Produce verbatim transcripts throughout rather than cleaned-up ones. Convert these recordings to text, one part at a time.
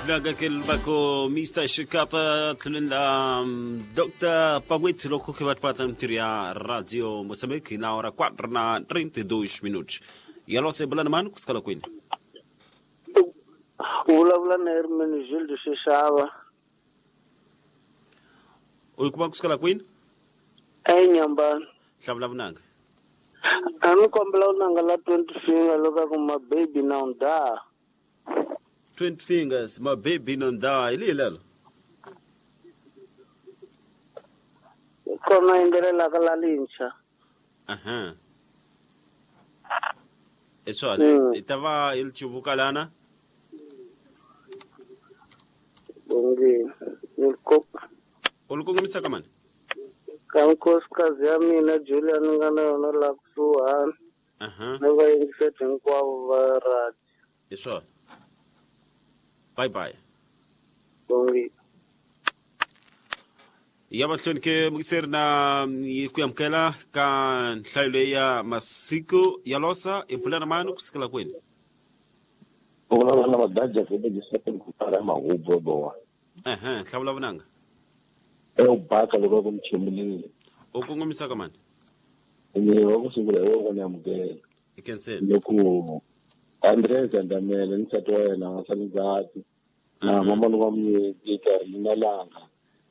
Vunanga ke bako Mister Shikata tlulela Doctor Pagwetsi loko ke batpatsa mtiri ya Radio Moçambique na hora quatro na trinta e dois minutos. Yalo se bulana mani kusikala kwini. Vulavula na Hermenegildo Xixava. U kuma kusikala kwini? Enyambani. Hlavula vunanga. A ni kombela vunanga la twenty finger loko ku ma baby now da. twenty fingers, my baby non die. Ili lelo. Kona yimbelela ka la lintsha. Aha. Eswale, itava ilchivuka lana. Bongi, nilko. Ulukongomisa kamani? Ka nkosikazi ya mina Julia ni nga na yona la kusuhani. Aha. Ni va yingiseti hinkwavo va radio. Eswale. Bye bye. Bongi. Ya mahlweni ke mukiseri na ku amukela ka nhlayo leyi ya masiku ya losa i bulana mani kusikela kwini? U vulavula na Madaja Febe ku para mahubo bowa. Ehe, hlavula vunanga. E u baka loko ku mchimulile. U kongomisa ka mani? Ni wa ku sungula hi wona amukela. I cancel. Loko Andres Andamele ni nsati wa yena wa Sanzati na mama wa Mnyeti Carolina Langa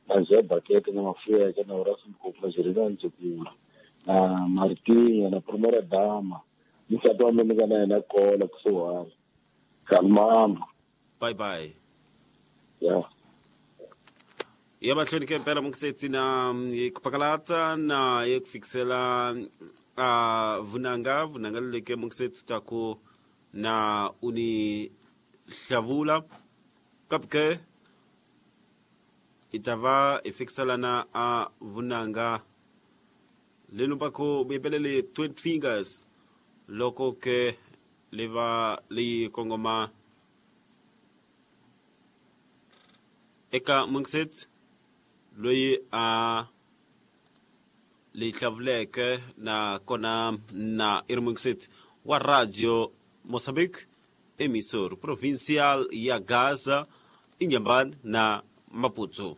na Zé Bakete na Mafueka na Horacio Mkopla Jerina Nzukula na Martinha na Primeira Dama ni nsati wa mina na yena kola kusuhani. Kalmamba. Bye bye. Yeah. Ya mahlweni ke mpela mukisetsi na kupakalata na yekufikisela a vunanga vunanga leke mukisetsi taku na uni hlavula kapke itava ifikisela na a vunanga lenu pako bebelele twenty fingers loko ke leva li kongoma eka mukisetsi loyi a li hlavuleke na kona na iri wa Radio Moçambique emissor provincial ya Gaza Inhambane na Maputo.